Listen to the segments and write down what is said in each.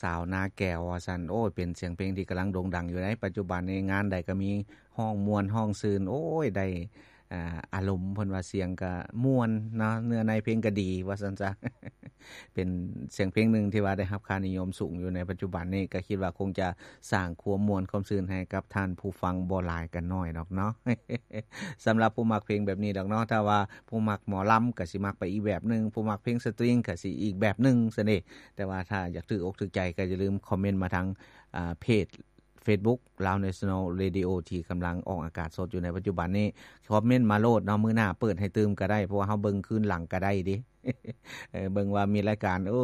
ສາວນາແກວວ່າຊັ້ນ. ໂອ້ຍ ເປັນສຽງເພງທີ່ກຳລັງໂດ່ງດັງຢູ່ໃນປັດຈຸບັນນີ້ ງານໃດກໍມີ ຮ້ອງມ່ວນຮ້ອງຊື່ນ ໂອ້ຍ ໄດ້ ອ່າ ອາລົມ. ເພິ່ນວ່າສຽງກໍມ່ວນເນາະ ເນື້ອໃນເພງກໍດີວ່າຊັ້ນຊະ. ເປັນສຽງເພງໜຶ່ງທີ່ວ່າໄດ້ຮັບຄ່ານິຍົມສູງຢູ່ໃນປັດຈຸບັນນີ້ ກໍຄິດວ່າຄົງຈະສ້າງຄວາມມ່ວນຄວາມຊື່ນໃຫ້ກັບທ່ານຜູ້ຟັງບໍ່ຫຼາຍກໍໜ້ອຍດອກເນາະ. ສຳລັບຜູ້ມັກເພງແບບນີ້ດອກເນາະ ຖ້າວ່າຜູ້ມັກໝໍລຳກໍຊິມັກໄປອີກແບບໜຶ່ງ ຜູ້ມັກເພງສະຕຣິງກໍຊິອີກແບບໜຶ່ງຊັ້ນເດ. ແຕ່ວ່າຖ້າຢາກຖືກອົກຖືກໃຈກໍຢ່າລືມຄອມເມັນມາທາງ ອ່າ ເພຈ Facebook Lao National Radio ທີ່ກຳລັງອອກອາກາດສົດຢູ່ໃນປັດຈຸບັນນີ້. ຄອມເມັນມາໂລດເນາະ ມື້ໜ້າເປີດໃຫ້ຕື່ມກໍໄດ້ ເພາະວ່າເຮົາເບິ່ງຄືນຫຼັງກໍໄດ້ເດ້. ເອີ ເບິ່ງວ່າມີລາຍການ ເອີ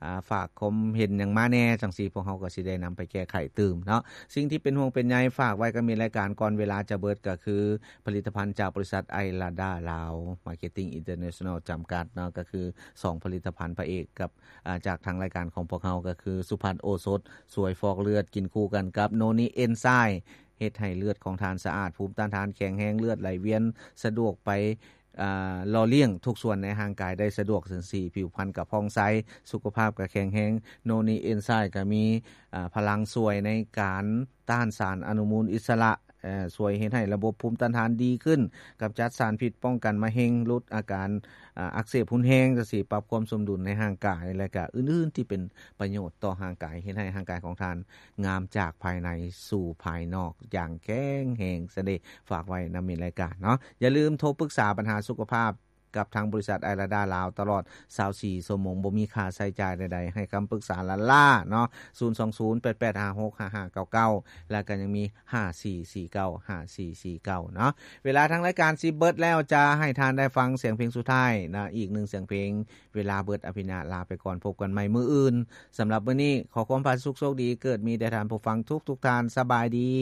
ອ່າ ຝາກຄວາມເຫັນຫຍັງມາແດ່ ຈັ່ງຊີ້ພວກເຮົາກໍຊິໄດ້ນຳໄປແກ້ໄຂຕື່ມເນາະ. ສິ່ງທີ່ເປັນຫ່ວງເປັນໃຍ ຝາກໄວ້ກັບມິດລາຍການ ກ່ອນເວລາຈະເບິດ ກໍຄືຜະລິດຕະພັນຈາກບໍລິສັດ Aylada Lao Marketing International ຈຳກັດເນາະ ກໍຄືສອງຜະລິດຕະພັນພະເອກກັບ ອ່າ ຈາກທາງລາຍການຂອງພວກເຮົາ ກໍຄືສຸພັດໂອສົດ ຊ່ວຍຟອກເລືອດ ກິນຄູ່ກັນກັບໂນນິເອັນໄຊ ເຮັດໃຫ້ເລືອດຂອງທ່ານສະອາດ, ພູມຕ້ານທານແຂງແຮງ, ເລືອດໄຫຼວຽນສະດວກໄປ ອ່າ ຫຼໍ່ລ້ຽງທຸກສ່ວນໃນຮ່າງກາຍໄດ້ສະດວກ, ສັງສີຜິວພັນກໍຜ່ອງໃສ, ສຸຂະພາບກໍແຂງແຮງ. ໂນນິເອັນໄຊກໍມີ ອ່າ ພະລັງຊ່ວຍໃນການຕ້ານສານອະນຸມູນອິດສະຫຼະ, ເອີ ຊ່ວຍເຮັດໃຫ້ລະບົບພູມຕ້ານທານດີຂຶ້ນ, ກຳຈັດສານພິດ, ປ້ອງກັນມະເຮັງ, ຫຼຸດອາການ ອ່າ ອັກເສບຮຸນແຮງ ຈັ່ງຊີ້, ປັບຄວາມສົມດຸນໃນຮ່າງກາຍ ແລະ ກະອື່ນໆທີ່ເປັນປະໂຫຍດຕໍ່ຮ່າງກາຍ, ເຮັດໃຫ້ຮ່າງກາຍຂອງທ່ານງາມຈາກພາຍໃນສູ່ພາຍນອກຢ່າງແຂງແຮງຊັ້ນເດ. ຝາກໄວ້ນຳມິດລາຍການເນາະ. ຢ່າລືມໂທປຶກສາບັນຫາສຸຂະພາບກັບທາງບໍລິສັດ Aylada Lao ຕະຫຼອດຊາວສີ່ຊົ່ວໂມງ ບໍ່ມີຄ່າໃຊ້ຈ່າຍໃດໆ, ໃຫ້ຄຳປຶກສາລ້າໆເນາະ, ສູນສອງສູນ ແປດແປດຫ້າຫົກ ຫ້າຫ້າເກົ້າເກົ້າ ແລະ ກໍຍັງມີ ຫ້າສີ່ສີ່ເກົ້າ ຫ້າສີ່ສີ່ເກົ້າ ເນາະ. ເວລາທາງລາຍການຊິເບິດແລ້ວ, ຈະໃຫ້ທ່ານໄດ້ຟັງສຽງເພງສຸດທ້າຍນະ, ອີກໜຶ່ງສຽງເພງ. ເວລາເບິດ, ອະພິນາດ ລາໄປກ່ອນ, ພົບກັນໃໝ່ມື້ອື່ນ. ສຳລັບມື້ນີ້, ຂໍຄວາມຜາສຸກໂຊກດີ ເກີດມີແດ່ທ່ານຜູ້ຟັງທຸກໆທ່ານ. ສະບາຍດີ.